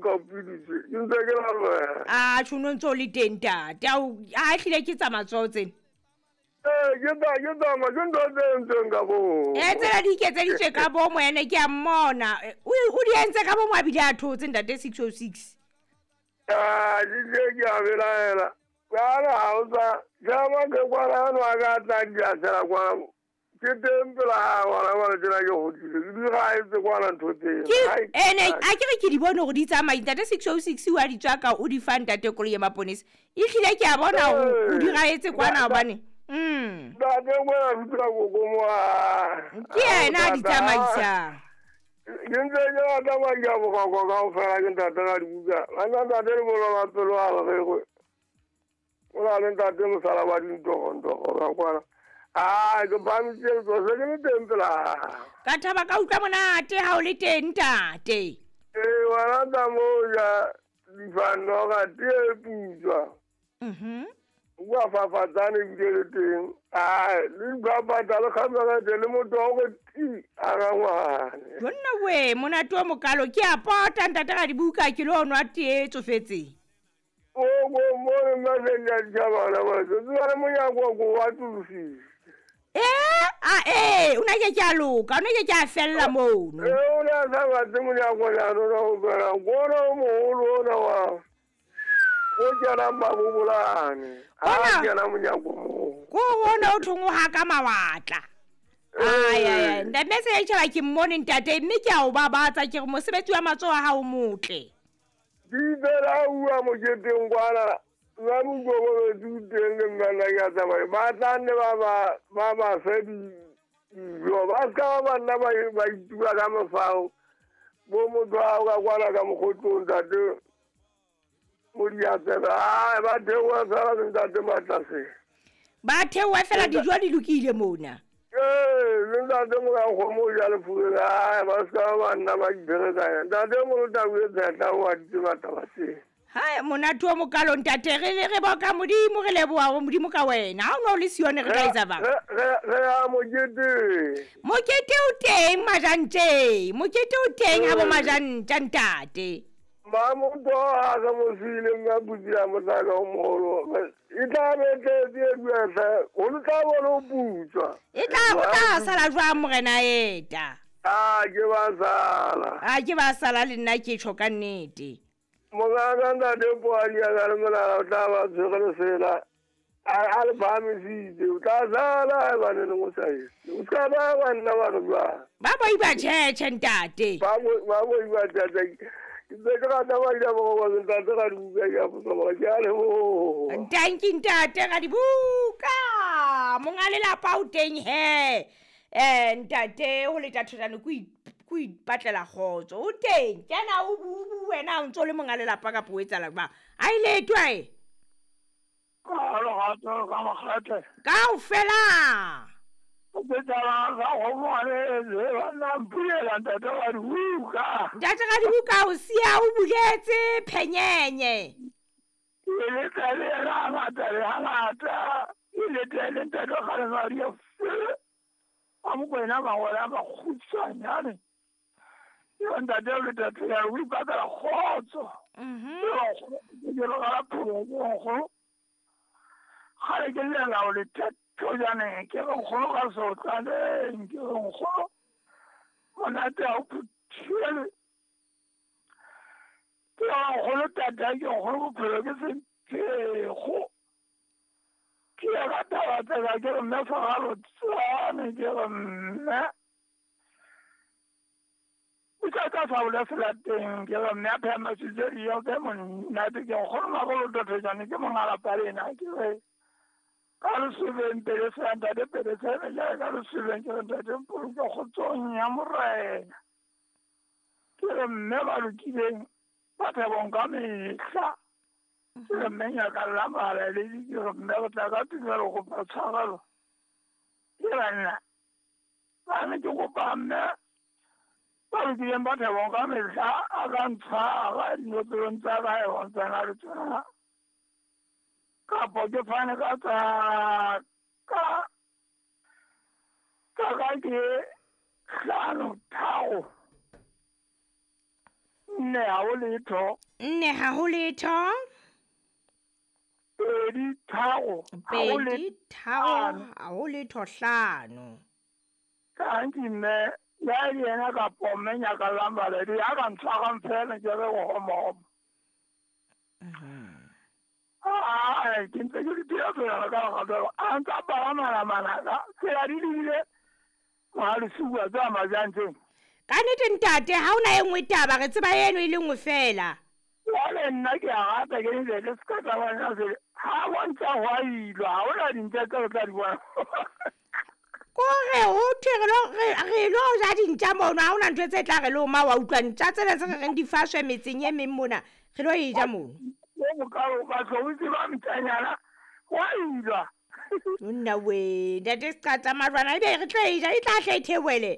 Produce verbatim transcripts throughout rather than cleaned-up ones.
ka pidise ke ntse ke la lwena a tjho no ntso le teng ntate ao a hlile ke tsa matsoho tsena eh ke tsa ke tsa ma ke ntho tse entsweng ka bomo eh tsena di iketseditswe ka bomo ene ke a mmona o o di entse ka bomo a bile a thotse ntate six oh six ah di ke ke a belaela kana ha o sa jama ke kwana no a ka tla di a sela kwa ke teng pela ha wala tsena ke hodile ke di ga etse kwana ntho teng ene a ke re ke di bone hore di tsamaya ntate six oh six wa di tswa ka o di fa ntate koloi ya maponesa e hlile ke a bona o di ga etse kwana hobane mm ntate ngwana ruta gogo ke yena a di tsamaisang ke ntse ke rata madi a bokoko kaofela ke ntate ga dibuka banna ntate le bolola pelo a gagwe o na le ntate mosala wa dintogontogo ka kwana a ke phamisitse letso se ke le teng pela ka thaba ka utlwa monate ha o le teng ntate ee wena tsa moo ja difanoga tee putswa mhm wa fafatsane ebile le teng ai le dipapatsa le kgamelete le motho wa go ti a ga ngwane jonna we monate wa mokalo ke a pota ntate ga dibuka ke lo nwa tee e tsofetseng o go mo le mmaseng ya ditšhabana batho tsebale monyako ko wa tulositse eh a eh o na ke ke a loka o na ke ke a fella mono ee o ne a sa batle monyako jaanong wa go kena kona o mogolo ona wa o kenang mabobolane a kena monyako moo ko ona o thong o haka mawatla ai ai ntate se ya tjhaba ke mmone ntate mme ke a o babatsa ke re mosebetsi wa matsoho a hao motle di bela ua moketeng kwana ba mokokobetsi o teng le mmana ke a tsamaya ba tla nne ba ba ba ba fe dijo ba se ka ba ba nna ba ba itua ka mofao bo motho ao ka kwana ka mokgotlong ntate mo diatsebe ai ba theoha fela le ntate Matlase ba theoha fela dijo di lokile mona ee le ntate mo ka kgomo o ja lefurele ai ba se ka ba nna ba iberekanya ntate mo tau e tsetla o a di tseba taba tse hai monate wa mokalo ntate re re boka modimo re leboha ho modimo ka wena ha o no le sione re ka etsa bang re re ya mokete mokete o teng majantse mokete o teng ha bo majantsa ntate Mamotho a ka mo siile mme a butsila motlaka o mogolo e tla be tletse e duetlhe go le tla bone o putswa e tla o tla sala jwang morena eta a ke ba sala a ke ba sala le nna ke tjho ka nnete mongaka ntate Poadi a ka le molala o tla ba tshwere lesela a a le phahamisitse o tla sala ebaneng o sa etse o ska ba ba nna ba re jwang ba boiba tjhetjhe ntate ba bo ba boiba tjhetjhe ke ntse ke rata madi a bokoko ntate ga dibuka ke a botsa ke a leboha tanki ntate ga dibuka monga lelapa o teng he eh ntate ho le thathojane ko ko ipatlela kgotso o teng kena o bu wena o ntso le monga lelapa ka po etsala ba a ile twae ka lerato ka makgethe kaofela o tsala ga go ngwane le bana mpulela ntate wa dibuka ntate ga dibuka o sia o buletse phenyenye e le tele ga ngata le ga ngata e le tele ntate ga le Maria a mokwena mangwele a makgutshwanyane yo ntate o le tate ya o ipatlela kgotso mhm ke re ga la pholo nkgono gale ke llela o le thotjaneng ke re nkgono ga sotlaneng ke re nkgono monate a o phuthile ke re nkgono tata ke nkgono bophelo ke semphego ke ya ka taba tsaka ke re mme fagalo tsane ke re mme o tla ka fabola fela teng ke re mme a phemasitse dijo ke monate ke nkgono magolo thotjane ke mongalapa lena ke re ka lesubeng pele se ntate pele se le ka lesubeng ke re ntate mpoloke kgotsong ya morena ke re mme ba lokileng ba thabong ka mehla ke re mme nyaka la malaledi ke re mme go tla ka tumelo go kopa tshwarelo ke banna ba ne ke kopa mme ba lokileng ba thabong ka mehla a ka ntshwara dinopelong tsa ka e bontsana le tsona kapo ke fane ka tsa ka ka ka ke hlano tharo Nne ha ho letho. Nne ha ho letho. Pedi tharo. Pedi tharo ha ho letho hlano. Kanti mme ya le yena kapo mme Nyakallang Baledi ya ka ntshwarang fela ke re ho homo. Ah, ke ntse ke dira tsela ka ga a ntsa ba mana mana ka tsela di dile Mohalesuwa tsa majantseng. Ka nnete ntate ha ona e nngwe taba re tseba eno e le nngwe fela. Jwale nna ke a rata ke ntse ke ska tsa bona se ha bontsha hwa ilwa ha ona dintja tse re tla di bona. Kore ho thwe re lo re lo ja dintja mono ha ona ntho tse tla re loma wa utlwa ntja tsena tse re reng di faswe metseng e meng mona re lo e ja mono. Mo bokalo ba tlo tseba ntjanyana wa ilwa. Nna we ntate Seqatsa Majwana ebe re tlo e ja e tla hle e theohele.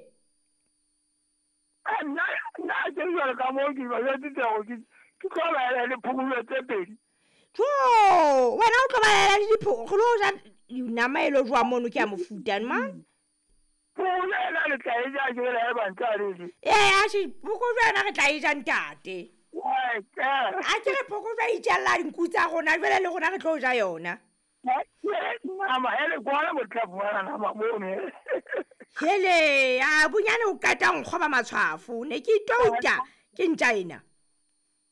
Nna nna ke jwale ka moo ke ba jwetsitse hore ke ke tlo laela le phokojwe tse pedi. Jo, wena o tlo ba laela le diphoko re lo ja nama e lo jwa mono ke ya mofuta man. Phokojwe ena le tla e ja ke le e bantsa le je. Ee, atjhe phokojwe yona re tla e ja ntate. A ke re phokojwe e itjalla dinku tsa rona jwale le rona re tlo ja yona. Nama hele kwana mo tla fumana nama mono. Hele, a bonyane o qeta nkgoba matshwafo ne ke itouta ke ntja ena.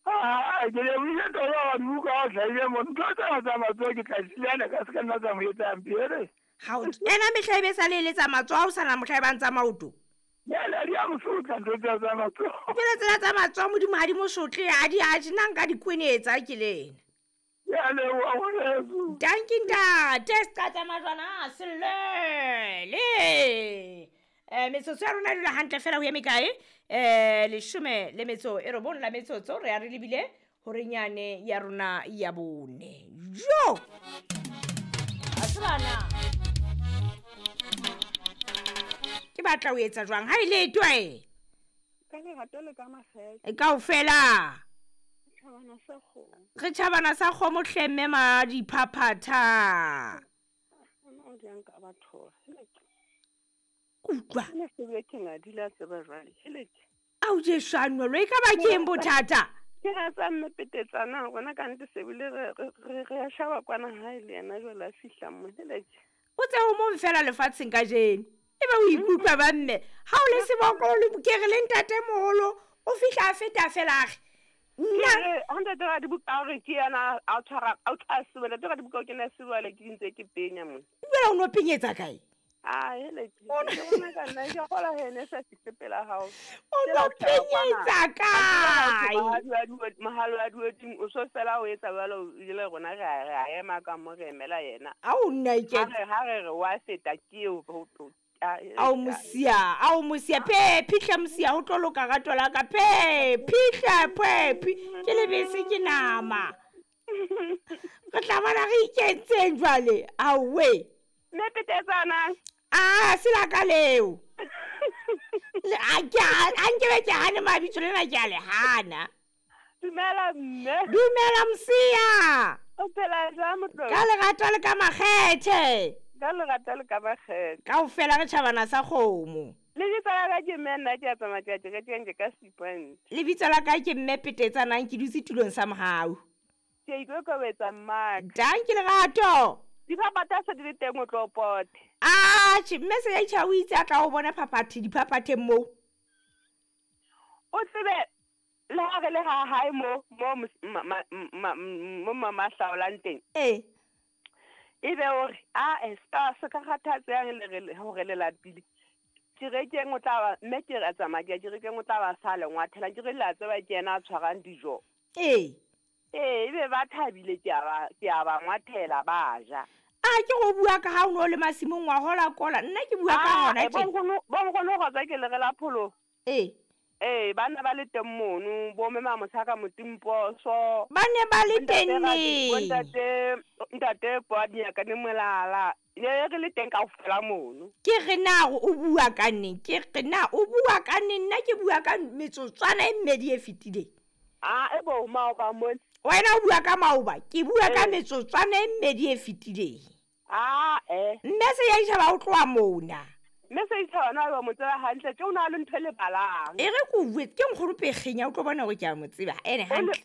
Ah, ke le buile taba wa dibuka o hlahile mo ntho tsena tsa matsoho ke tla silana ka se ka nna tsa mo etsang pele. Ha o ena mehla e be sa le eletsa matsoho ha o sana mohla e bang tsa maoto. Jwale di a mo sotla ntho tsena tsa matsoho. Jwale tsena tsa matsoho Modimo ha di mo sotle ha di a nna nka di kwenetsa ke le ena. Ya leboha ngwaneso. Dankie ntate Seqatsa Majwana selele. Eh metsotso ya rona e dula hantle fela ho ye mekae? Eh leshome le metso e robong la metsotso re ya re lebile horenyane ya rona ya bone. Jo! A tsebana. Ke batla ho etsa jwang ha e le twe? Ka lerato le ka makgethe. Kaofela. Tjhabana sa kgomo. Re tjhabana sa kgomo hle mme ma diphaphatha. Ona o jang ka batho. Utlwa. Ne se be ke ngadi la tseba jwale. Heleke. Ao Jesu lo e ka ba ke eng bothata? Ke ga tsa mme petetsana rona ka nnete se bile re re re a shaba kwana hae le yena jwale a fihla mo. Heleke. O tse o mong fela lefatsheng ka jeno. Ebe o ikutlwa ba mme. Ha o le seboko le ke re le ntate moholo o fihla a feta fela a re nna ha ntate ra dibuka hore ke yena a tshwara a tla sebele ntate ra dibuka ke na sebele ke ntse ke penya mo. Jwale o no penyetsa kae? Ah hele ke bona ka nna ke gola hene sa fihle pela hao. O no penyetsa kae? Mahalo a duetseng o so fela o etsa jwalo ile rona re a re a ema ka mo re emela yena. Ao nna ke ha re ha re re wa feta ke eo Ao mosia, ao mosia, pe phihla mosia ho tlo loka rato la ka pe phihla pe ke lebese ke nama. Re tla bona re ikentseng jwale. Awe. Mme petetsana. Ah, se la ka leo. Le a ke a nke be ke hane mabitso lena ke a le hana. Dumela mme. Dumela mosia. O phela jwang motlolo? Ka lerato le ka makgethe. Ka lerato le ka makgethe. Kaofela re tjhabana sa kgomo. Lebitso la ka ke mme nna ke a tsamaya ke a ke ka Seapoint. Lebitso la ka ke mme Petetsanang ke dutse tulong sa mohau. Ke ikokobetsa mmaka. Dankie lerato. Diphaphatha se di le teng o tlo pote. Atjhe mme Sejaitjha o itse a tla o bona phaphathe diphaphatheng moo. O tsebe le ha re le ha hae mo mo mo mama hlaolang teng. Eh. Ebe hore a e ska se ka kgathatsehang le re hore le lapile. Kerekeng o tla ba mme ke re tsamaya ke kerekeng o tla ba sa le ngwathela ke re la tseba ke yena a tshwarang dijo. Eh. Eh ebe ba thabile ke a ba ke a ba ngwathela ba ja. A ke go bua ka ha o no le masimong wa hola kola nna ke bua ka hona tje. Bo nkgono go tswa ke le re la pholo. Eh. Eh bana ba le teng mono bo mme Mamosaka Motimposo. Ba ne ba le teng ne. Ntate ntate Podia ka ne molala. Ne re le teng kaofela mono. Ke re na o bua ka neng? Ke re na o bua ka neng? Nna ke bua ka metsotswana e mmedi e fetileng. Ah e bo maoba mone. Wena o bua ka maoba, ke bua ka metsotswana e mmedi e fetileng. Ah eh. Mme Sejaitjha ba o tloha mona. Mme Seithabana a ba mo tseba hantle tje o na le ntho e lebalang. E re ko bue ke nkgono pekgenya o tlo bona gore ke a mo tseba ene hantle.